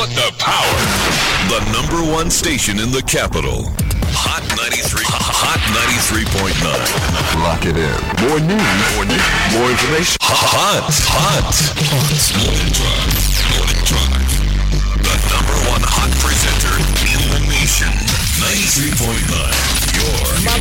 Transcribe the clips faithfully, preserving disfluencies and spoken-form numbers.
What the power? The number one station in the capital. Hot ninety-three, Hot ninety-three point nine. Lock it in. More news, more news, more information. Hot, hot, hot. Morning Drive. Morning Drive. The number one hot presenter in the nation. ninety-three point nine. Your Ma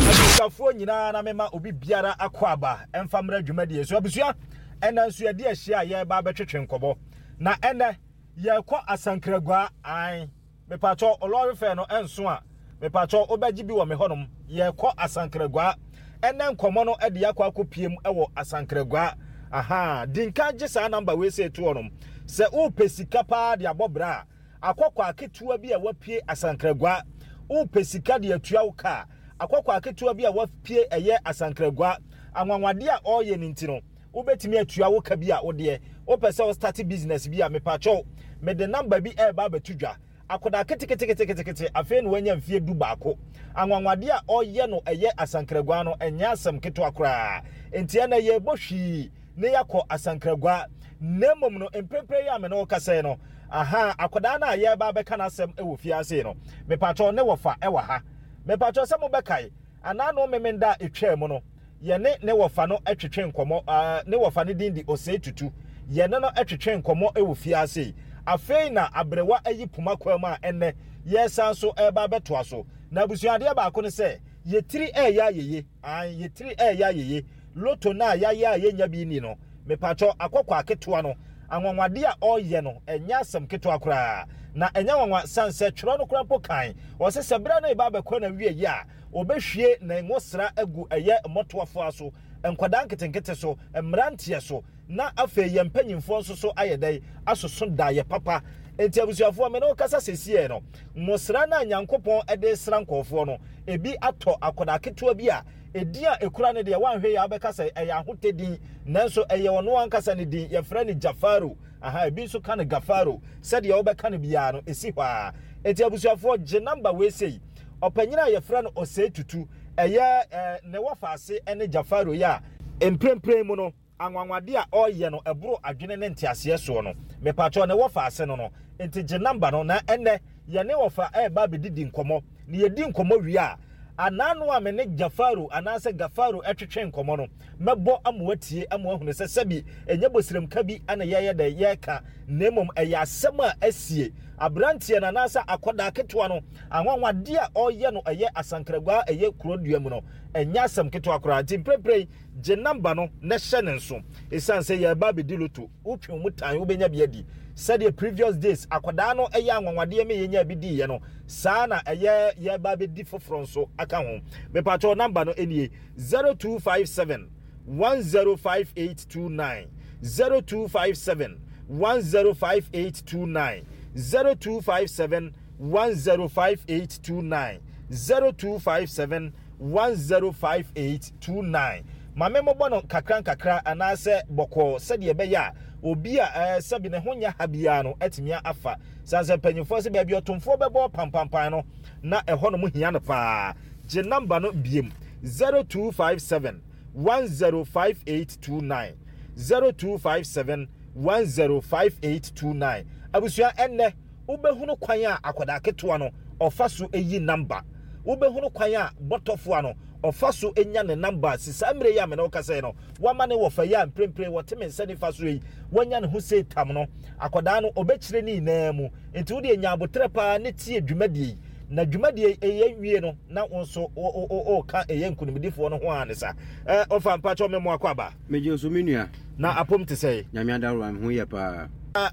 abusuafoɔ nyinaa na mema obi biara akɔ aba ɛmfa mmerɛ dwumadie so. Abusua, ɛnɛ nso yɛde ahyia a yɛreba abɛtwetwe nkɔmmɔ, na ɛnɛ yɛrekɔ Asankragua. An mepatwɔ lorry fare no ɛnso a, mepatwɔ wobɛgye bi wɔ me hɔnom. Yɛrekɔ Asankragua ɛnɛ. Nkɔmmɔ no ɛde akɔ akɔpiem ɛwɔ Asankragua. Aha di nka gye saa number wei sɛ ɛtoɔ nom sɛ wopɛ sika paa de abɔ bra a, akɔkɔ aketewa bi a wapue Asankragua. Wopɛ sika de atua wo kaa, akɔkɔ aketewa bi a wapue ɛyɛ Asankragua, anwanwadeɛ a ɔreyɛ no nti no, wobɛtumi atua wo ka bi a wodeɛ wopɛ sɛ wo start business bi a, mepakyɛw, mede number bi ɛreba abɛto dwa. Akwadaa keteketeketekete, afei na wanya mfie du baako, anwanwadeɛ a ɔreyɛ no ɛyɛ Asankragua no, ɛnyɛ asɛm ketewa koraa. Nti ɛnɛ yɛrebɔ hwii ne yɛakɔ Asankragua. Na mmom no, mprempren yi a me ne wo kasa yi no, aha akwadaa no a yɛreba abɛka n'asɛm wɔ fiase no, mepakyɛw, ne wɔfa ɛwɔ ha. Mepakyɛw, sɛ mobɛkae anaa no memenda a ɛtwaa mu no, yɛne ne wɔfa no twetwe nkɔmmɔ. uh, ne wɔfa no din de Osei Tutu. Yɛne no twetwe nkɔmmɔ wɔ fiase yi. Afei na aberewa ayi poma kwan mu a ɛnnɛ yɛsan so ɛreba abɛtoa so. Na abusuadeɛ baako no sɛ yɛtiri ɛɛyɛ ayɛye an yɛtiri ɛɛyɛ ayɛye lotto no a yɛayɛ a yɛnya bi ni no, mepatwɔ, akɔkɔ aketewa no, anwanwadeɛ a ɔreyɛ no, ɛnyɛ asɛm ketewa koraa, na ɛnyɛ nwanwa san sɛ twerɛ no koraa mpo kan ɔsɛ sɛ berɛ no ɛba abɛkɔ na wie yi a, ɔbɛhwie ne ngosra agu ɛyɛ mmɔtoafoɔ so, nkwadaa nketenkete so, mmeranteɛ so, na afei yɛn mpanyinfoɔ nso so ayɛ dɛn asoso da yɛ papa. Nti abusuafoɔ, me ne wo kasa sɛsiɛ no, ngosra no a Nyankopɔn de sra nkɔɔfoɔ no, ebi atɔ akwadaa ketewa bi a edin a ekura no deɛ, wanhwɛ yɛ abɛka sɛ ɛyɛ ahotɛ din, nanso ɛyɛ ɔno ankasa ne din. Yɛfrɛ no Jafaro. Aha ebi nso ka no Gafaro. Sɛdeɛ wobɛka no biara no, esi hɔ a. Eti abusuafoɔ, gye number wei sei. Ɔpanyin a yɛfrɛ no Osei Tutu, ɛyɛ ɛɛ ne wɔfaase ɛne Jafaro yi a mprempren mu no, anwanwade a ɔreyɛ no ɛboro adwene ne nteaseɛ soɔ no, mepatwɔ, ne wɔfaase no no Nti gye number no na ɛnɛ yɛne wɔfa ɛreba abɛdidi nkɔmmɔ. Na yɛdi nkɔmmɔ wie a, anaano a me ne Jafaro anaasɛ Gafaro ɛtwetwe nkɔmmɔ no, mɛbɔ ama watie ama wahunu sɛ sɛbi ɛnyɛ bosiremka bi ana yɛyɛ dɛ yɛreka, na mmom ɛyɛ asɛm a asie. Aberanteɛ no anaasɛ akɔdaa ketewa no, anwanwadeɛ a ɔreyɛ no ɛyɛ Asankragua, ɛyɛ kurodua mu no, ɛnyɛ asɛm ketewa koraa. Nti mprempren gye number no na hyɛ ne nso, ɛsiane sɛ yɛreba abɛdi lotto. Wotwe mu tan, wobɛnya bi adi. Sɛdeɛ previous days akwadaa no ɛyɛ anwanwadeɛ me yɛnya bi diiɛ no, saa na ɛyɛ yɛreba abɛdi foforɔ nso aka ho. Mepatwɛ, number no nie: zero two five seven one zero five eight two nine, zero two five seven one zero five eight two nine, zero two five seven one zero five eight two nine, zero two five seven one zero five eight two nine. Maame, mobɔ no kakra nkakra anaasɛ bɔkɔɔ sɛdeɛ ɛbɛyɛ a obi a ɛɛ sɛbi ne ho nyɛ ha biara no atumi afa sansan. Mpanyinfoɔ sɛ baabi ɔtomfoɔ bɛbɔ pampampan no, na ɛhɔ nom hia no paa. Gye number no biem: zero two five seven one zero five eight two nine, zero two five seven one zero five eight two nine. Abusua, ɛnnɛ wobɛhunu kwan a akwadaa ketewa no ɔfa so yi number, wobɛhunu kwan a bɔtɔfoa no ɔfa so nya ne number. Si saa mmerɛ yi a mene wo kasa yi no, wama ne wɔfa yi a mprempren wɔte me nsa nifa so yi, wanya ne ho sei tam no, akwadaa no ɔbɛkyerɛ ne nyinaa mu. Nti wode nya abotrɛ paa ne tie dwumadie yi, na dwumadie yi ɛyɛ wie no, na wo nso ɔka ɛyɛ nkonimdifoɔ no ho a ne sa. Ɔfa, mpakyɛw, me mo akɔ aba. Megye so, me nua. Na apom te sɛ? Nyame adaworo, me ho yɛ paa.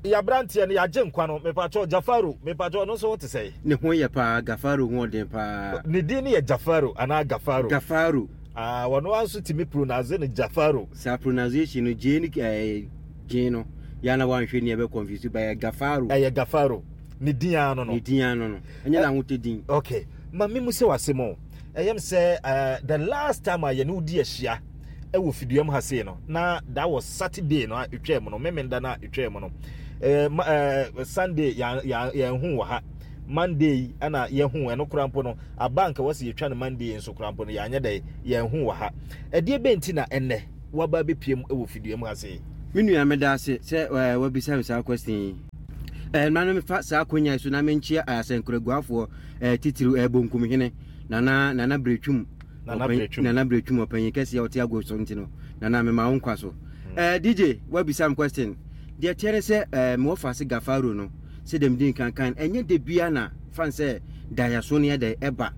Yɛaberanteɛ no yɛagye nkwa no, mepakyɛw, Jafaro, mepakyɛw, ɔno nso ho te sɛ? Ne ho yɛ paa. Gafaro ho ɔden paa. Ne din no yɛ Jafaro anaa Gafaro? Gafaro. Ah, wɔno nso tumi pronounce no Jafaro. Saa pronunciation no, gye ne ɛɛ gye no yɛn na wanhwɛ ni ɛbɛ confuse ba, yɛ Gafaro. Ɛyɛ Gafaro ne din ano no. Ne din ano no, ɛnyɛ n'ahotɛ din. Okay, ma mi mu sɛ wase mo ɛyɛm sɛ uh, the last time a yɛne wodi ahyia ɛwɔ fiduam ha sei no, na that was Saturday no a etwa mu no, memenda no a etwa mu no. ɛɛ ɛɛ Sunday yɛn yɛn yɛn hu wɔ ha. Monday yi ɛna yɛhu ɛno kora mpo no aba nka wɔsi yɛtwa no Monday nso kora mpo no, yɛanyɛ dɛ yɛn hu wɔ ha. Ɛdeɛ bɛn ti na ɛnɛ waba abɛpie mu ɛwɔ fiduam ha sei? Me nua, meda ase sɛ ɛɛ wabisa me saa question yi. Ɛɛ ma no mefa saa akonnwa yi so na menkyia Asankraguafoɔ, ɛɛ titiriw ɛɛ Bonkumhene Nana Nana Bretwum. Nana Bretwum. Nana Bretwum, ɔpanyin kɛseɛ a ɔte ago so, nti no Nana, mema wo nkwa so. ɛɛ D J, wabisa me question deɛ teɛ ne sɛ ɛɛ mewɔ fa se Gafaro no sɛ dɛm di nkankan, ɛnyɛ de bia na fan sɛ daeɛso no yɛ dɛ ɛba.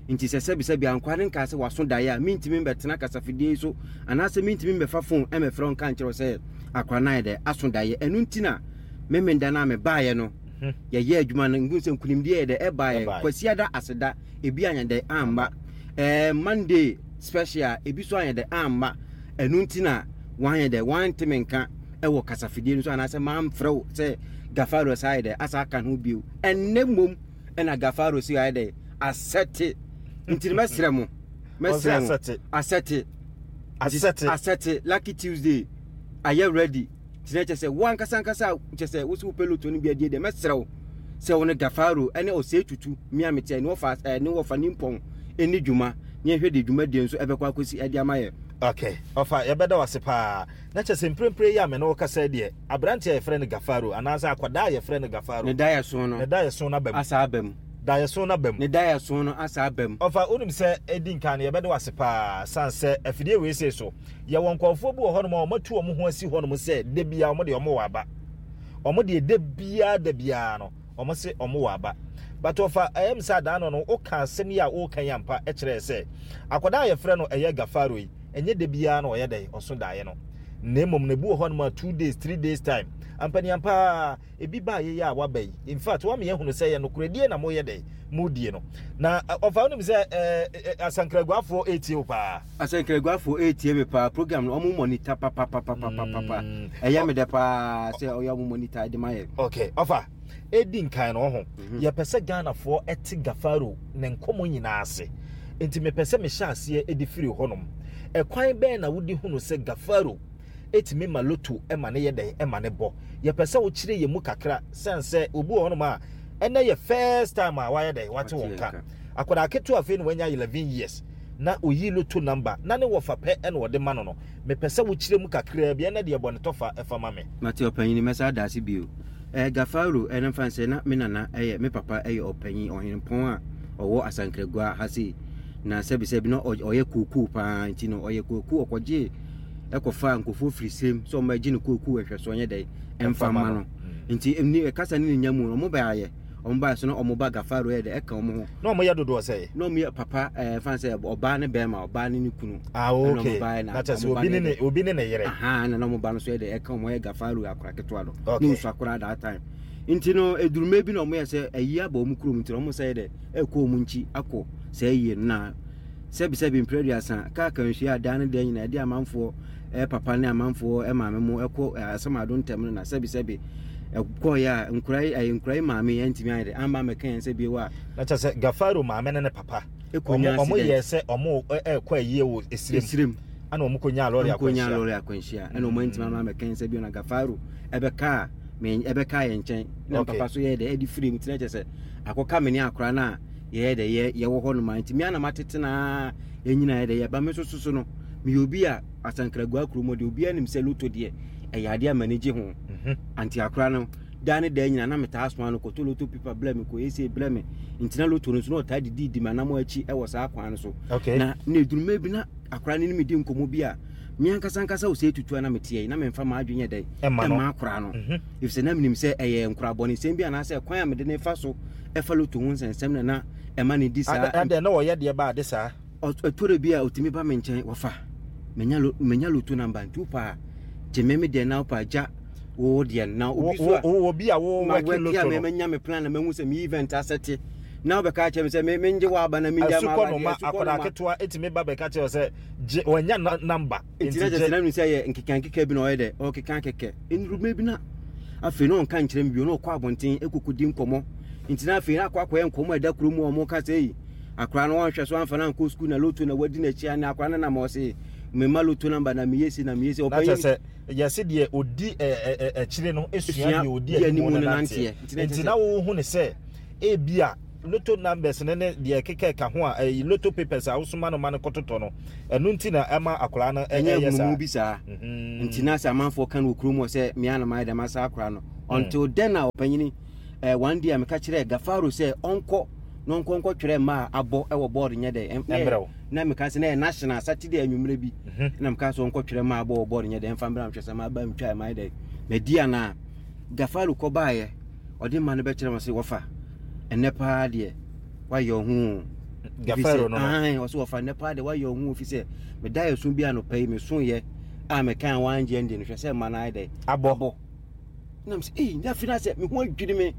Nti sɛ sɛbisɛbi ankwa ne nkaa sɛ waso daeɛ a, mentumi mbɛtena kasafidie yi so anaasɛ mentumi mbɛfa phone ɛmɛfrɛ wo nka nkyerɛ wo sɛ akora no ayɛ dɛ aso daeɛ. Ɛno nti na memenda no a mebaeɛ no, yɛyɛ adwuma no ngu sɛ nkonimdie yɛ dɛ ɛbaeɛ. Ɛbaeɛ. Kwasiada aseda ebi anyɛ dɛ amba, ɛɛ Monday special ebi so anyɛ dɛ amba. Ɛno nti na wanyɛ dɛ wante nka ɛwɔ kasafidie no so anaasɛ mamfrɛ wo sɛ Gafaro sa ayɛ dɛ asa aka ho bio. Ɛnnɛ mmom ɛna Gafaro si ayɛ dɛ asɛte, nti no mɛsrɛ mo, mɛsrɛ mo. Asɛte. Asɛte. Asɛte. Asɛte, Lucky Tuesday ayɛ ready, nti na kyerɛ sɛ wo ankasa ankasa a kyerɛ sɛ wo sɛ wopɛ loto no bi adie deɛ, mɛsrɛ wo sɛ wo ne Gafaro ɛne Ɔsɛe Tutu mmea mete ne wɔfa ɛɛ ne wɔfa nimpɔn ɛni dwuma ne yɛhwɛ de dwumadie nso ɛbɛkɔ akɔsi ɛde ama yɛ. Okay, ɔfa, yɛbɛda wo ase paa. Na kyerɛ sɛ mprempren yi a me ne wo kasa yi deɛ, aberanteɛ a yɛfrɛ no Gafaro anaasɛ akwadaa a yɛfrɛ no Gafaro ne daeɛso no ne daeɛso no aba mu. Asa aba mu. Daeɛso no aba mu. Ne daeɛso no asa aba mu. Ɔfa, wonim sɛ ɛdi nkan no, yɛbɛda wo ase paa san sɛ afidie wei sei so yɛwɔ nkɔɔfoɔ bi wɔ hɔnom a ɔmatu ɔmo ho asi hɔnom sɛ da biara ɔmo deɛ ɔmo wɔ aba, ɔmo deɛ da biara da biara no ɔmo se ɔmo wɔ aba. But ɔfa, ɛyɛ m sɛ adaa no no woka asɛm yi a woka yi ampa kyerɛɛ sɛ akwadaa a yɛfrɛ no ɛyɛ Gafaro yi, ɛnyɛ da biara na ɔyɛ dɛn ɔso daeɛ no, na mmom na ebi wɔ hɔnom a two days, three days time ampaniampa ebi baa yɛyɛ a waba yi. In fact, wama yɛhunu sɛ yɛ nokoredie na moyɛ dɛn modie no. Na ɔfa, wonim sɛ ɛɛ Asankraguafoɔ ɛretie wo paa. Asankraguafoɔ ɛretie me paa. Program no ɔmo monitor papapapapapa. Mm. Ɛyɛ me dɛ paa sɛ ɔyɛ ɔmo monitor de ma yɛ. Okay, ɔfa, ɛdi nkan no ho, yɛpɛ sɛ Ghanafoɔ ɛte Gafaro ne nkɔmmɔ nyinaa ase, nti mepɛ sɛ mehyɛ aseɛ ɛde firi hɔnom. Ɛkwan bɛn na wode hunu sɛ Gafaro ɛtumi ma loto ɛma ne yɛ dɛn ɛma ne bɔ? Yɛpɛ sɛ wokyerɛ yɛ mu kakra sɛn sɛ obi wɔ hɔnom a ɛnɛ yɛ first time a wayɛ dɛn wate wɔn ka, akwadaa ketewa afei na wanya eleven years na oyi loto number na ne wɔfa pɛ ɛna ɔde ma no no mepɛ sɛ wokyerɛ mu kakraa bi. Ɛnɛ deɛ, bɔ ne tɔfa ɛfa ma me. Mate, ɔpanyini, mɛsa ada ase bio. ɛɛ gafaro ɛno mfa sɛ na me nana ɛyɛ me papa, ɛyɛ ɔpanyin ɔhenepɔn a ɔwɔ Asankragua ha sei, na sɛbisɛbi na ɔyɛ kookoo paa. Nti no ɔyɛ kookoo, ɔkɔgye ɛkɔfa nkurɔfoɔ firi srem sɛ ɔmo agye ne kookoo ɛhwɛ ɔnyɛ dɛ ɛmfa ma no. Nti ni kasa ne ne nya mu no, ɔmo bɛ ayɛ ɔmo ba so na ɔmo ba Gafaro yɛ dɛ ɛka ɔmo ho. Na ɔmo yɛ dodoɔ sɛ? Na ɔmo yɛ papa, ɛɛ fan sɛ ɔbaa ne bɛrima, ɔbaa ne ne kunu. Ah, okay, na kyerɛ sɛ obi ne ne obi ne ne yere. Aha, na ɔmo ba no so yɛ dɛ ɛka ɔmo, yɛ Gafaro akora ketewa no. Okay. Ne nsu akora that time. Nti no eduruma bi na ɔmo yɛ sɛ ɛyi aba ɔmo kurom, nti na ɔmo sɛ yɛ dɛ ɛkɔ ɔmo nkyi akɔ sɛ ɛyie no. Na sɛbisɛbi mpere aduasa kaa kanhyia adan ne deɛ nyinaa ɛde amanfoɔ ɛɛ papa ne amanfoɔ ɛmaame mo ɛkɔ ɛɛ asɛm ntɛm no, na sɛbisɛbi ɛkɔɔyɛ a nkura yi ɛyɛ nkura yi maame yɛn ntumi ayɛ dɛ amba mɛka yɛn sɛ bio a. Na kyerɛ sɛ Gafaro maame ne ne papa ɛkɔnya ɔmo accident. Yɛ sɛ ɔmo ɛkɔ ayie wɔ Esirim. Esirim. Ana ɔmo kɔnya lɔre ɔmo kɔnya akwanhyia. Lɔre akwanhyia, ɛna ɔmo ntumi ama mɛka yɛn sɛ bio na Gafaro ɛbɛka me ɛbɛka yɛn nkyɛn na Okay. papa so yɛ dɛ ɛde firi mu. Tena kyerɛ sɛ akɔka me ne akora no a yɛyɛ dɛ yɛ yɛwɔ hɔ nom a, nti me ana matete naa yɛnyina yɛ dɛ yɛba me nso so so no, meyɛ obi a Asankragua kurom hɔ deɛ, obiara nim sɛ loto deɛ ɛyɛ adeɛ a m'ani gye ho. Mhm. Anti akora no daa ne daa nyina na metaa soma no kɔtɔ loto paper blɛ me, kɔ ɛsɛ blɛ me. Nti na loto no nso na ɔtaa didi di m'anam akyi ɛwɔ saa kwan no so. Okay na na eduruma bi na akora no ne me di nkɔmmɔ bi a me ankasa ankasa wɔ sɛ etutu a na meteɛ yi na memfa m'adwene yɛ dɛ ɛma no. Ɛma akora no, Mhm. efisɛ na menim sɛ ɛyɛ nkorabɔnesɛm bi anaasɛ kwan a mede ne fa so ɛfa loto ho nsɛnsɛm na na ɛma ne di saa. Ada adɛ na ɔyɛ deɛ ba ade saa? Ɔt- ɛtɔrɔ bi a ɔtumi ba me nkyɛn, wɔfa menya lo menya loto number, nti wopɛ a gye me me deɛ na wopɛ a gya wo deɛ no. Na obi so a wo obi a wo ma wɛke wɛke a loto me no menya me plan na mahu sɛ me event asɛte na wobɛka kyerɛ me sɛ me mengye wɔ aba na mengye ama asukɔ aba no deɛ, ma asukɔ no akwadaa ma. Ketewa etumi ba bɛka kyerɛ wo sɛ gye wɔnya na- number. Nti na kyerɛ sɛ na menim sɛ yɛ nkeka nkeka bi na ɔyɛ dɛ ɔkeka kɛkɛ. Nnuruma bi na afei na ɔnka nkyerɛ me bio na ɔkɔ abɔnten ɛkɔkɔdi nkɔmmɔ. Nti na afei na akɔ akɔyɛ nkɔmmɔ a ɛda kurom a ɔmo ka sɛ ei, akwaraa no wɔnhwɛ so amfa no ankɔ sukuu na loto na wadi n'akyi a ne akwaraa no nam ɔse mema loto number na meyɛ si na meyɛ si. Na kyerɛ Ɔpanyin sɛ yɛse deɛ odi ɛ, ɛ, ɛ, akyire no esua esua deɛ odi deɛ anim anim no no nanteɛ. nanteɛ. Nti na nti kyerɛ na sɛ wohu ne sɛ ebi a loto numbers ne ne deɛ keka ka ho a ɛyi loto papers a wosoma no ma no kɔtotɔ no, ɛno nti na ɛma akwaraa no ɛ- ɛnyɛ ɛyɛ saa. ahunumu bi saa. Mhm. Nti na sɛ amanfoɔ ka no wɔ kurom hɔ sɛ mea na mayɛ dɛm asa akwaraa no. Until then a ɔpanyini eh, one day a meka kyerɛ Gafaro sɛ ɔnkɔ na ɔnkɔ nkɔtwerɛ mma a abɔ ɛwɔ board nyɛ dɛ Ɛmmerɛ wo. Na meka sɛ na ɛyɛ national Saturday anwummerɛ bi na meka sɛ ɔnkɔtwerɛ mma abɔ wɔ board nyɛ dɛ ɛmfa mbra, mehwɛ sɛ maba ntwa ɛma yɛ dɛ madi anaa. Gafaro kɔbaeɛ, ɔde mma no bɛkyerɛ m sɛ wɔfa ɛnɛ paa deɛ wayɛ ɔho. Gafaro no no. Ɔsɛ wɔfa nnɛ paa deɛ wayɛ ɔho, fi sɛ meda yɛ so bi anɔpa yi mesoyɛ a meka wangye ndi no, hwɛ sɛ mma no ayɛ dɛ abɔ. Nam sɛ ei, na afei na sɛ me ho adwiri me,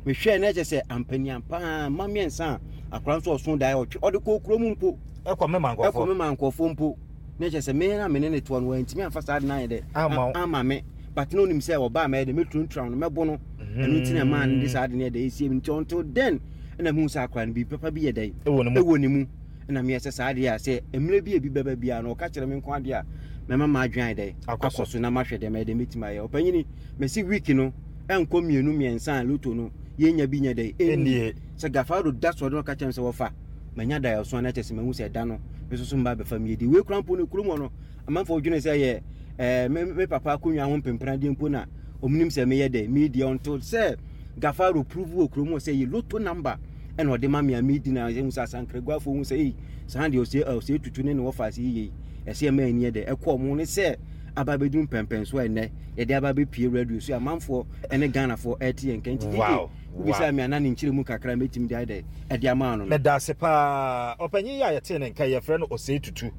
mehwɛɛ na ɛkyɛ sɛ ampaniam paa ma mmiɛnsa a akora nso ɔso daeɛ ɔtwe ɔde kɔ kurom mpo. Ɛkɔ mema ɛkɔ nkɔfoɔ me ma nkɔfoɔ mpo, na kyerɛ sɛ me na me ne ne toɔ no wantumi amfa saa de no ayɛ dɛ Ama wo. Ama me, but na onim sɛ ɔbaa mɛyɛ dɛ mɛturantura no, mɛbo no. Ɛno nti na maa no de saa de no yɛ dɛ ɛsie mi. Nti until then ɛna mehu sɛ akora no biribi papa bi yɛ dɛ ɛwɔ ne mu. Ɛwɔ ne mu. Ɛna meyɛ sɛ saa deɛ a sɛ mmerɛ bi a bi bɛba biara no, ɔka kyerɛ me nko adeɛ a mɛma m'adwene ayɛ dɛ Akɔ so. Akɔ so na mahwɛ dɛ mɛyɛ dɛ mɛtumi ayɛ. Ɔpanyini, mɛsi week no ɛnkɔ mmienu mmiɛnsa a lotto no yɛnya bi nyɛ dɛ ɛnnie. Sɛ Gafaro da so ɔde no ka kyerɛ me sɛ wɔfa manya da ɛso a, na kyerɛ sɛ mahu sɛ ɛda no me nso so mba bɛfa miedi wei kora mpo no kurom hɔ no, amanfoɔ dwene sɛ yɛ ɛɛ me me papa akonnwa ho mpempradeɛ mpo na ɔmunim sɛ meyɛ dɛ meedi, until sɛ Gafaro prove wɔ kurom hɔ sɛ yɛ lotto number ɛna ɔde ma me a meedi, na ɛhu sɛ asankraguafoɔ hu sɛ ei, saa deɛ ɔsɛ ɔsɛ tutu ne ne wɔfa ase yie, ɛsɛ ɛma ani yɛ dɛ ɛkɔ ɔmo ne sɛ aba bɛduru mpɛmpɛn so a ɛnɛ yɛde aba bɛpie radio so, amanfoɔ ɛne Ghanafoɔ ɛte yɛn nka. Nti Wow. wobisa me ana ne nkyerɛ mu kakra mɛtumi de ayɛ dɛ ɛde ama no no. Meda ase paa. Ɔpanyin yi a yɛtee ne nka, yɛfrɛ no Osei Tutu,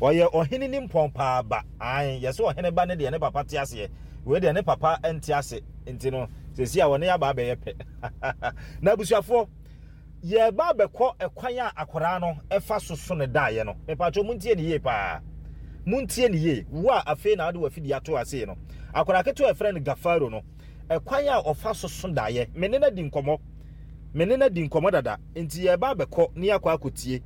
ɔyɛ ɔhene ni mpɔn paa ba. Ae, yɛsɛ ɔhene ba ne deɛ ne papa te aseɛ, wei deɛ ne papa nte ase, nti no sɛsi a wɔne yɛaba abɛyɛ pɛ. Na abusuafoɔ, yɛba abɛkɔ ɛkwan a akwaraa no ɛfa so so ne daeɛ no. Mepatwɛ, muntie ne yie paa, muntie ne yie. Wo a afei na wode wafidie ato ase no, akwaraa ketewa a yɛfrɛ no Gafaro no, ɛkwan a ɔfa so so daeɛ, me ne no adi nkɔmmɔ, me ne no adi nkɔmmɔ dada, nti yɛba abɛkɔ ne yɛakɔ akɔtie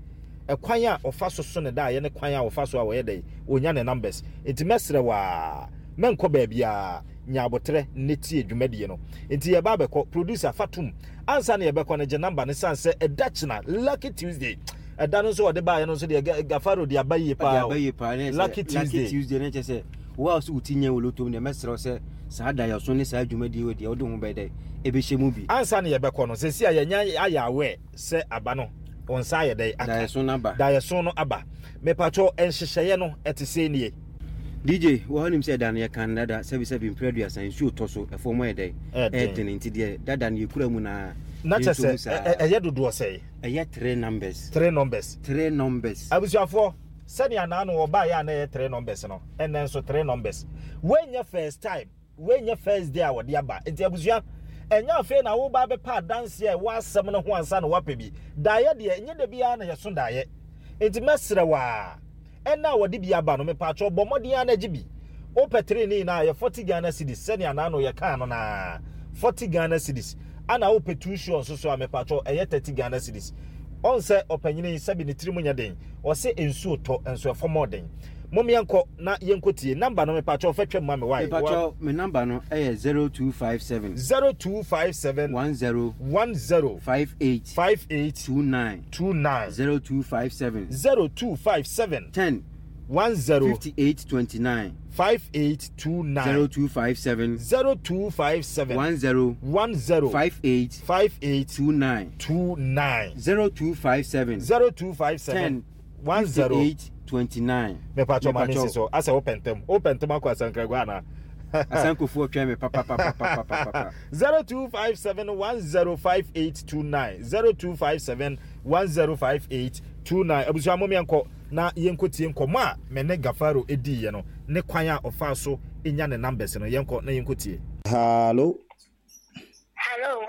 ɛkwan a ɔfa so so ne daeɛ ne kwan a ɔfa so a wɔyɛ dɛ ɔnya ne numbers. Nti mɛsrɛ waa, mɛnkɔ baabiaa, nya abotrɛ ne tie dwumadie no. Nti yɛba abɛkɔ. Producer, fa tom ansa na yɛbɛkɔ no, gye number ne san sɛ ɛda kyena Lucky Tuesday, ɛda no nso ɔde baeɛ no nso deɛ Ga- gafaro de aba yie ɔde paa o. Aba yie paa ne sɛ Lucky Tuesday. Lucky Tuesday ne kyerɛ sɛ wo a so wo ti nyɛ wɔ lotto mu deɛ, mɛsrɛ wo sɛ saa da yɛso ne saa dwumadie wɔ deɛ wode ho bɛyɛ dɛ ɛbɛhyɛ mu bi. Ansa na yɛbɛkɔ no, sɛsi a yɛnya ayɛ awɛ sɛ aba no wɔn nsa ayɛ dɛ aka. Daeɛso no aba. Daeɛso no aba. Mepatwɔ, nhyehyɛeɛ no ɛte sɛ nie. D J, wɔ hɔ nim sɛ da no yɛka no dada sɛbisɛbi mprɛ aduasa, nsuo tɔ so, ɛfɔm ayɛ dɛ Ɛɛden. Ɛɛdene, nti deɛ dada no yɛkura mu naa Na kyɛ yɛnto mu sɛ saa. ɛ- ɛ- ɛyɛ dodoɔ sɛe? Ɛyɛ three numbers. Three numbers. Three numbers. Abusuafoɔ, sɛnea naano ɔbaeɛ a na ɛyɛ three numbers no, ɛnɛ nso three numbers. Wɔnyɛ first time, wɔnyɛ first day a wɔde aba. Nti abusua, ɛnyɛ afei na woba bɛpa adanseɛ a ɛwɔ asɛm no ho ansa na woapɛ bi daeɛ deɛ, ɛnyɛ da biara na yɛso daeɛ. Nti mɛsrɛ waa, ɛna a wɔde bi aba no, mepatwɛ, bɔ mmɔden a na gye bi. Wopɛ three ne nyinaa yɛ forty Ghana cedis, sɛnea naano yɛkaa no naa forty Ghana cedis. Ana wopɛ two sure nso so a, mepatwɛ, ɛyɛ thirty Ghana cedis. Ɔn sɛ ɔpanyini sɛbi ne tiri mu nyɛ den, ɔsɛ nsuo tɔ nso ɛfɔm ɔden. Mom yɛnkɔ na yɛnkɔ tie number no. Mepatwɛ, ɔfɛ twɛm ma me wae. Mepatwɛ, me number no ɛyɛ zero two five seven zero two five seven one zero one zero five eight five eight two nine two nine zero two five seven zero two five seven ten one zero fifty-eight twenty-nine five eight two nine zero two five seven zero two five seven one zero one zero five eight five eight two nine two nine zero two five seven zero two five seven ten one zero fifty-eight twenty-nine. Mepatwɔ, ma me nsi so asɛ wopɛ ntɛm, wopɛ ntɛm akɔ Asankragua anaa? Asankofoɔ twɛn me papapapapapapa. zero two five seven one zero five eight two nine, zero two five seven one zero five eight two nine. Abusua, mo yɛnkɔ na yɛnkɔ tie nkɔmmɔ a me ne Gafaro ediiɛ no ne kwan a ɔfaa so nya ne numbers no. Yɛnkɔ na yɛnkɔ tie. Hello. Hello.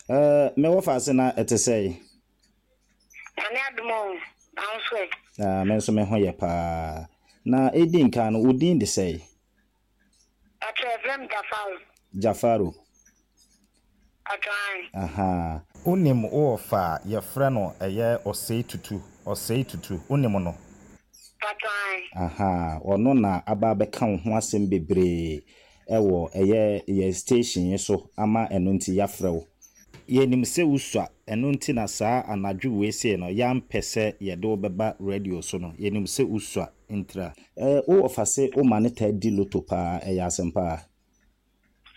Uh, mewɔ faase na ɛte sɛ? Nyame adom o. Na wo nso ɛ? Uh, me nso me ho yɛ paa. Na ɛdi nkan no, wo din de sɛ? Ɔkyerɛ ɛfrɛ me Jafaro. Jafaro. Ɔtwan. Aha. Wonim wowɔ fa a yɛfrɛ no ɛyɛ Ɔsɛe Tutu, Ɔsɛe Tutu, wonim no? Ɔtwan. Aha. Ɔno na aba abɛka wo ho asɛm bebree ɛwɔ ɛyɛ yɛ station yi so ama ɛno nti yɛafrɛ wo. Yɛnim sɛ wosua, ɛno nti na saa anadwo wei sei no yɛampɛ sɛ yɛde wo bɛba radio so no. Yɛnim sɛ wosua ntira. Eh, wowɔ fa se woma ne taa di lotto paa, ɛyɛ asɛm paa?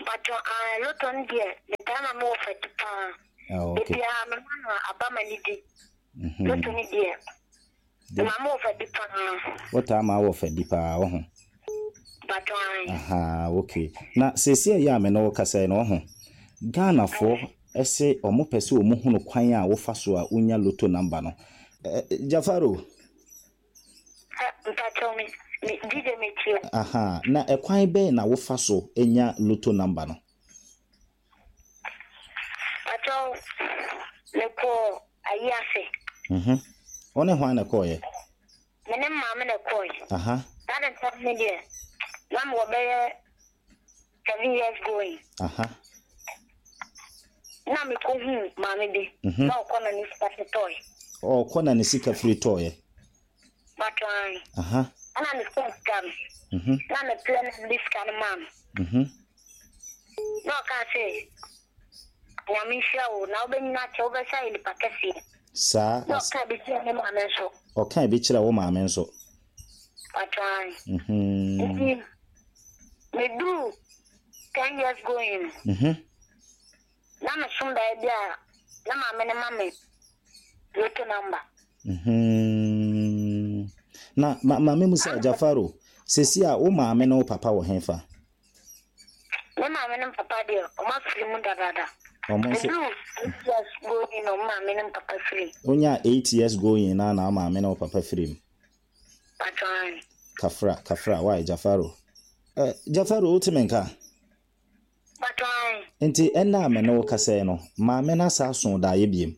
Mpakyɛ, ah, lotto no deɛ, metaa ma mewɔ fati paa. Ah, okay. Ebiara mema no aba ma ne di. Mhm. Lotto no deɛ, mema mewɔ fati paa. Wotaa ma wɔ fadi paa, wo ho? Mpakyɛ, ae. Aha, okay. Na seesei a ɛyɛ a me ne wo kasa yi no, wo ho, Ghanafoɔ ɛse ɔmo pɛ sɛ ɔmo hunu kwan a wofa so a wonya lotto number no. Eh, Jafaro. Mpakyɛ, me, me, D J metie. Aha, na ɛkwan bɛn na wofa so nya lotto number no? Mpakyɛ, mekɔ ayi ase. Mhm. Wo ne hwan na ɛkɔɔyɛ? Me ne maame na ɛkɔɔyɛ. Aha. Saa de ntɛm ne deɛ, na mewɔ bɛyɛ seven years going. Aha. Na mekɔhuu maame bi. Mhm. Na ɔkɔ na ne sika fi tɔɔyɛ. Ɔkɔ na ne sika firi tɔɔyɛ. Mpakyɛ, ae. Aha. Ɛna me sika sika no. Mhm. Na mepɛ na mede sika no maa no. Mhm. Na ɔkaa sɛ, Nyame nhyira wo na wobɛnyina akyɛ, wobɛsa yɛ nipa kɛseɛ. Saa. Na ɔkaa bi kyerɛ me maame nso. Ɔkaa bi kyerɛ wo maame nso. Mpakyɛ, ae. Mhm. Nti meduru ten years going no. Mhm. Na mesom daeɛ bi a na maame no ma me lotto number. Mhm. Na ma maame mu sɛ Jafaro, sesi a wo maame ne wo papa wɔ hefa? Me maame ne me papa deɛ, ɔmo afiri mu dadaada. Ɔmo nso Meduru eight years going na ɔmo maame ne me papa firi mu. Wonya eight years going na na wo maame ne wo papa firi mu. Mpakyɛ, ae. Kafra, kafra, why Jafaro? Eh, Jafaro, wote me nka? Mpakyɛ, ae. Nti ɛnna a me ne wo kasa yi no, maame no asa aso daeɛ biem.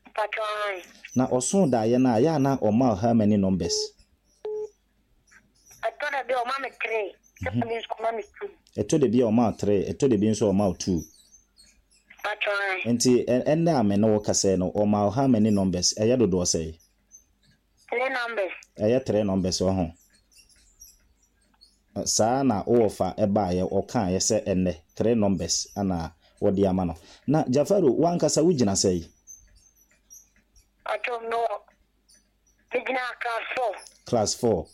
Mpakyɛ, ae. Na ɔso daeɛ no a, yɛ a na ɔma wo how many numbers? Ɛtɔ da bi a ɔma me three, ɛtɔ da bi nso ɔma me two. Ɛtɔ da bi a ɔma wo three, ɛtɔ da bi nso ɔma wo two. Mpakyɛ, ae. Nti ɛnna a me ne wo kasa yi no, ɔma wo how many numbers? Ɛyɛ dodoɔ sɛn? Three numbers. Ɛyɛ three numbers wɔ ho. Saa na wowɔ fa ɛbaeɛ, ɔkaeɛ sɛ ɛnnɛ three numbers ana wɔde ama no. Na Jafaro, wankasa wogyina sɛn? Mpakyɛ, mewɔ megyina class four. Class four.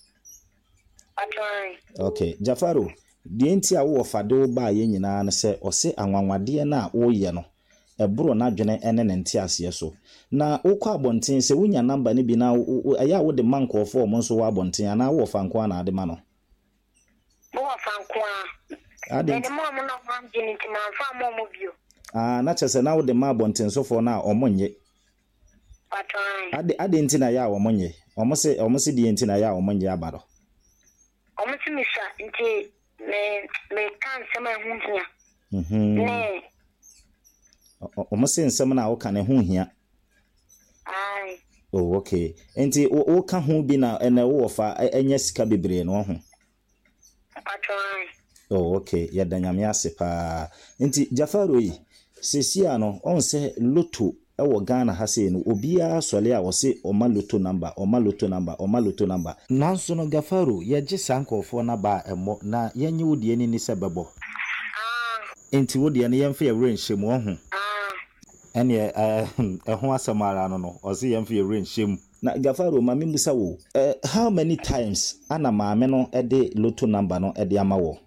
Mpakyɛ, ae. Okay, Jafaro, deɛ nti a wowɔ fa de wo baeɛ nyinaa no sɛ ɔse anwanwadeɛ no a woyɛ no, ɛboro n'adwene ne ne nteaseɛ so. Na wokɔ abɔnten sɛ wonya number no bi na ɛyɛ a wode ma nkurɔfoɔ a ɔmo nso wɔ abɔnten anaa wowɔ fa nko ara na ade ma no? Mewɔ fa nko ara. Ade Mede ma ɔmo na ɔmo angye no nti mamfa amma ɔmo bio. Ah, na kyerɛ sɛ na wode ma abɔntensofoɔ no a ɔmo nye. Mpakyɛ, ae. Ade ade nti na ɛyɛ a ɔmo nye. Ɔmo se ɔmo se deɛ nti na ɛyɛ a ɔmo nye aba no. Ɔmo se mesua nti me meka nsɛm a ɛho hia. Mhm. Ne Ɔmo se nsɛm no a woka no ɛho hia. Ae. Oh, okay. Nti wo woka ho bi na ɛnɛ wowɔ fa ɛnyɛ sika bebree no ho. Mpakyɛ, ae. Oh, okay. Yɛda Nyame ase paa. Nti Jafaro yi, seesei a no, ɔn sɛ lotto ɛwɔ Ghana ha sei no, obiara sɔle a ɔse ɔma lotto number, ɔma lotto number, ɔma lotto number. Nanso no Gafaro, yɛgye saa nkurɔfoɔ no aba a ɛmmɔ na yɛnye wo deɛ ni ni sɛ bɛbɔ. Ah. Nti wo deɛ no yɛmfa yɛ werɛ nhyɛ mu, ɔho. Ah. Ɛneɛ ɛho asɛm ara no no, ɔse yɛmfa yɛ werɛ nhyɛ mu. Na Gafaro, ma memmusa wo, uh, how many times ana maame no de lotto number no de ama wo?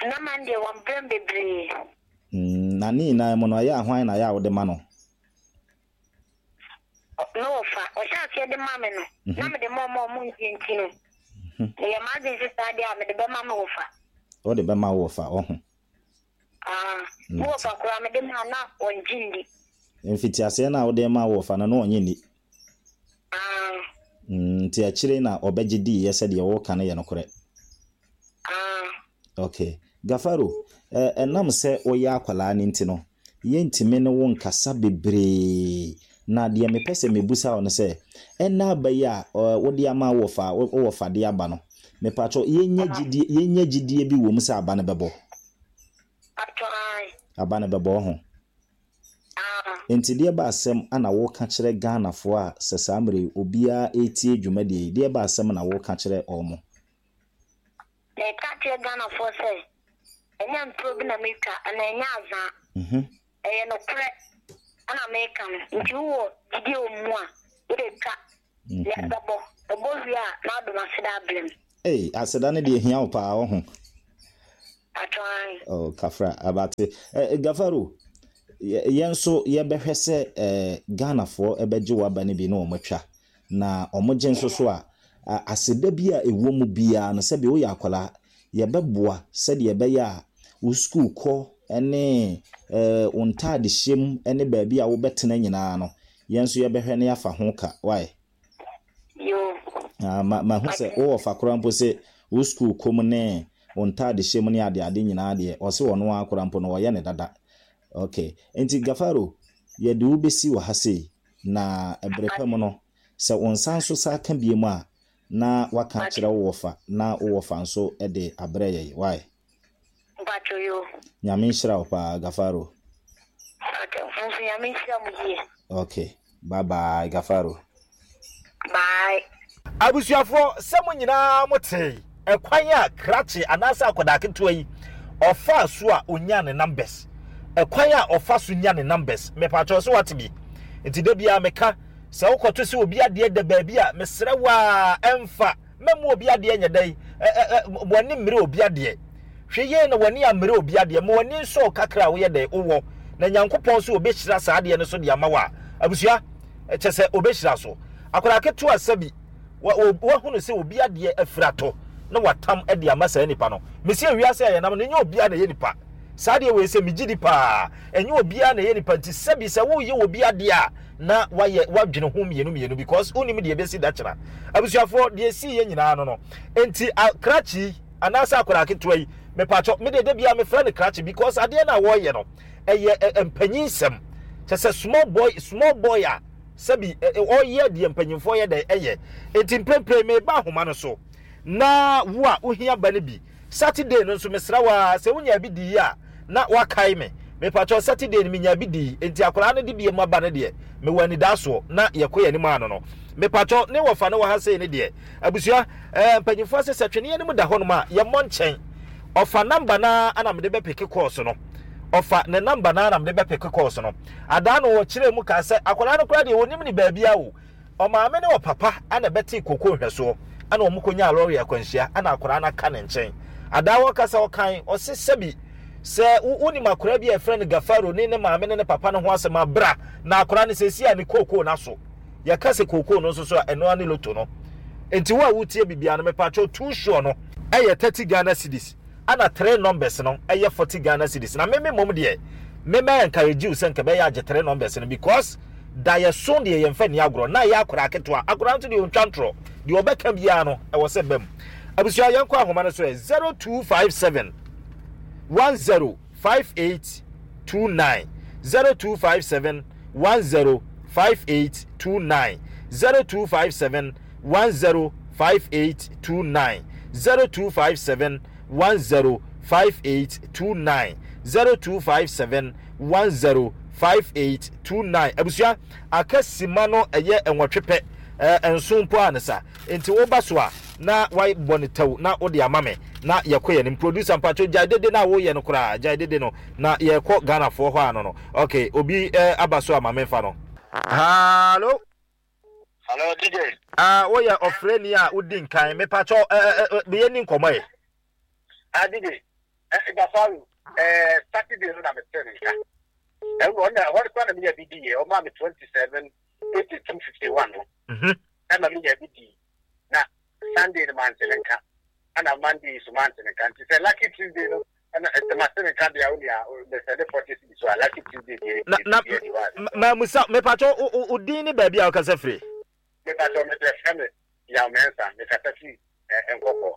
Nama deɛ wɔn brɛ bebree. Mm, na ne nyinaa mu no, ɛyɛ ahwan na ɛyɛ a wode ma no? Ne wɔfa, ɔhyɛ aseɛ de ma me no, na mede ma ɔmo a ɔmo ngye nti no, meyɛ m'adwene sɛ saa deɛ a mede bɛma me wɔfa. Wode bɛma wo wɔfa, ɔho. Ah, me wɔfa koraa mede ma na ɔngye ndi. Mfitiaseɛ no a wode ma wo wɔfa no, na ɔnye nni. Ah. Mm, nti akyire na ɔbɛgye diiɛ sɛdeɛ wɔka no yɛ nokorɛ. Ah. Okay. Gafaro, ɛnam sɛ woyɛ akwalaa no nti no, yɛntumi ne wo nkasa bebree. Na deɛ mepɛ sɛ mebusa wo no sɛ, ɛna aba yi a wode ama wo wɔfa, wo wɔfa de aba no, mepatwɔ yɛnya gyidie, yɛnya gyidie bi wɔ mu sɛ aba no bɛbɔ. Mpakyɛ, ae. Aba no bɛbɔ ho. Ah. Nti deɛ ba asɛm ana woka kyerɛ Ghanafoɔ a sɛ saa mmerɛ yi obiara ɛretie dwumadie yi, deɛ ba asɛm na woka kyerɛ ɔmo? Meka kyerɛ Ghanafoɔ sɛ, ɛnyɛ ntoro bi na metwa, anaa ɛnyɛ azaa. Mhm. Ɛyɛ nokorɛ ɛna meka no. Nti wowɔ gyidie wɔ mu a, wode twa. Na ɛbɛbɔ. Ɛbɔ wie a, na wode m'aseda abrɛ me. Ei, aseda no deɛ hia wo paa, wo ho. Atwan. Oh, kafra abate. Eh, Gafaro, yɛn nso yɛbɛhwɛ sɛ eh, Ghanafoɔ ɛbɛgye waba no bi na wɔn atwa, na wɔn gye nso so a, aseda bi a ɛwɔ mu biara no, sɛbi woyɛ akwadaa, yɛbɛboa sɛdeɛ ɛbɛyɛ a wo sukuu kɔ ne eh, wo ntaade hyɛm ne baabi a wobɛtena nyinaa no, yɛn nso yɛbɛhwɛ na yɛafa ho ka. Wae? Yo. Ah, ma ma hu sɛ wowɔ fa koraa mpo sɛ wo sukuu kɔ mu ne wo ntaade hyɛ mu ne adeade nyinaa deɛ, ɔse ɔno ara koraa mpo no ɔyɛ ne dada. Okay, nti Gafaro, yɛde wo bɛsi wɔ ha sei, na ɛberɛ pa mu no, sɛ wo nsa nso sa ka bie mu a, na waka akyerɛ wo wɔfa, na wo wɔfa nso de abrɛ yɛn. Wae? Mpacho yo. Nyame nhyira wo paa, Gafaro. Okay, nso Nyame nhyira mo yie. Okay, bye bye, Gafaro. Bye. Abusuafoɔ, sɛ mo nyinaa mo te ɛkwan a krakye anaasɛ akwadaa ketewa yi ɔfa so a onya ne numbers, ɛkwan a ɔfa so nya ne numbers, mepatwɛ sɛ wate bi. Nti da biara meka sɛ wokɔto sɛ obi adeɛ da baabi a, mesrɛ wo a, ɛmfa mɛmu obi adeɛ nyɛ dɛn, w'ani mmere obi adeɛ. Hwɛ yie na w'ani ammere obi adeɛ, ma w'ani nsɔ kakra a woyɛ dɛn wowɔ, na Nyankopɔn so obɛhyira saa adeɛ no so de ama wo a, abusua, kyɛ sɛ obɛhyira so. Akwadaa ketewa sɛbi wahunu sɛ obi adeɛ afiri atɔ na watam de ama saa nipa no. Mesi ewiase a yɛnam no, ɛnyɛ obiara na ɛyɛ nipa. Saa adeɛ wei sɛ megye di paa, ɛnyɛ obiara na ɛyɛ nipa. Nti sɛbi sɛ woyɛ obi adeɛ a, na wayɛ wadwene ho mmienu mmienu, because wonim deɛ ɛbɛsi da kyena. Abusuafoɔ, deɛ esi yɛ nyinaa no no nti krakye anaasɛ akwadaa ketewa yi, mepatwɔ me deɛ da biara mefrɛ no krakye, because adeɛ no a wɔreyɛ no ɛyɛ mpanyinsɛm. Kyɛ sɛ small boy, small boy a sɛbi ɔyɛ deɛ mpanyinfoɔ yɛ dɛ ɛyɛ. Nti mprempren meba ahoma no so, na wo a wohia ba no bi Saturday no nso, mesrɛ wo a, sɛ wonya bi di yi a, na wakae me. Mepatwɔ, Saturday no menya bi di, nti akwadaa no de bi mu aba no deɛ, mewɔ anidasoɔ na yɛkɔ yɛn anim ano no. Mepatwɔ, ne wɔfa no wɔ ha sei ne deɛ, abusua, ɛɛ mpanyinfoɔ sɛ sɛ tweneɛ no mu da hɔnom a, yɛmmɔ nkyɛn. Ɔfa number naa ana mede bɛpeke course no. Ɔfa ne number naa na mede bɛpeke course no. Adaa no wɔkyerɛ mu kaa sɛ akwadaa no koraa deɛ wɔnim ne baabi a o. Ɔmaame ne ɔpapa ana bɛte koko nhwɛsoɔ, ana wɔn kɔnya lɔre akwanhyia, ana akwadaa no aka ne nkyɛn. Adaa wɔkasa ɔkan, ɔse sɛbi sɛ wonim akwadaa bi a yɛfrɛ no Gafaro ne ne maame ne ne papa no ho asɛm abra, na akwadaa no sɛsi a ne kookoo no aso. Yɛka sɛ kookoo no nso so a, ɛno ne loto no. Nti wo a wotie biribiara no, mepatwɔ, two sure no ɛyɛ thirty Ghana cedis, ana three numbers no ɛyɛ forty Ghana cedis. Na meme mmom deɛ, meme encourage you sɛ nka bɛyɛ agye three numbers no, because da yɛ so deɛ yɛmfa ni agorɔ, na yɛ akwadaa ketewa, akwadaa nso deɛ ɔntwa ntorɔ, deɛ ɔbɛka biara no ɛwɔ sɛ bɛm. Abusua, yɛnkɔ ahoma no so ɛ zero two five seven one zero five eight two nine, zero two five seven one zero five eight two nine, zero two five seven one zero five eight two nine, zero two five seven one zero five eight two nine, zero two five seven one zero five eight two nine. Abusua, aka sima no ɛyɛ nwɔtwe pɛ, ɛɛ nson mpo a ne sa. Nti woba so a, na wabɔ ne tɛw na wode ama me na yɛkɔ yɛn nim. Producer mpatwo, gyae dede na woyɛ no koraa, gyae dede no na yɛkɔ Ghanafoɔ hɔ ano no. Okay, obi ɛɛ aba so ama memfa no. Hello. Hello, D J. Ah, woyɛ ɔfrɛni a wodi nkan. Mepatwo, ɛɛ ɛɛ meyɛ ni nkɔmmɔ yɛ. Ah, D J. Eh, Gafaru, eh, Saturday no na mete ne nka. Ɛno ɔna hɔ kora na menya bi di yɛ, ɔmaa me twenty seven eighty two fifty one no. Mhm. Ɛma menya bi di. Na Sunday no mante ne nka. Ɛna Monday so mante ne nka. Nti sɛ Lucky Tuesday no, ɛna ɛsɛ mate ne nka deɛ, wo nea mesɛde forty cedis so a, Lucky Tuesday deɛ, Na na deɛ deɛ wa. Ma musa, mepatwo, wo din ne baabi a wokasa firi? Mepatwo, mefrɛ me Yaw Mensah, mekasa firi Nkɔkɔ.